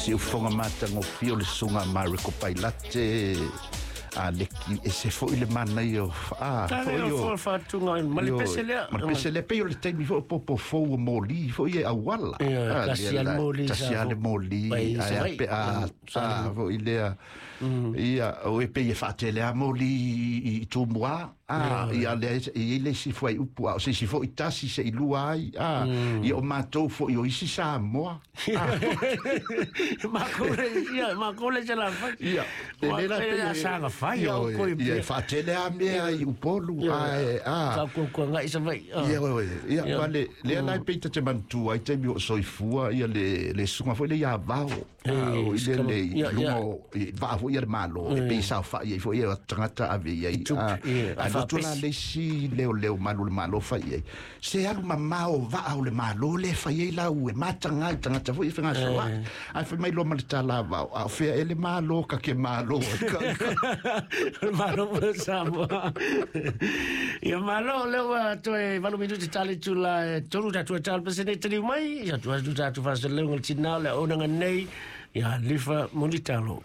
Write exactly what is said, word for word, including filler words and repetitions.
Siufoga matagofie o le susuga a Mareko Pailate a leki e se fo'i le manaia o a foi o faatuga ma le pese lea. Ma le pese lea pei o le taimi foi o popo fou o moli foi e auala. Tasi a le moli tasi a le moli ae a pe a foi lea ia o e pei e faatele a moli i Tumua a ia le i le isi foi upu a o se isi foi tasi se i lua ai a ia o matou foi o isi Samoa ma ia ma kole se la fai ia le la pe saga fai o koi ia faatele a mea i Upolu a a ka ko ko ngai sa vai ia ia vale le la pe te mantua ai te mi o soifua ia le le suga foi le ia vao o ile le lungo va foi ia le malo e pe sa fa ia foi ia tangata ave ia a tula le si leo leo malu le malo fai ai se alu mamao va o le malo le fai ai la ue matanga i tangata foi fanga soa ai fai mai lo ma le tala va a fea ele malo ka ke malo malo Samoa ia malo leo toe valu minuti tali tula tolu tatu tali pasene tali mai ia tu atu tatu fa se leo tina le ona nei ia lifa monitalo.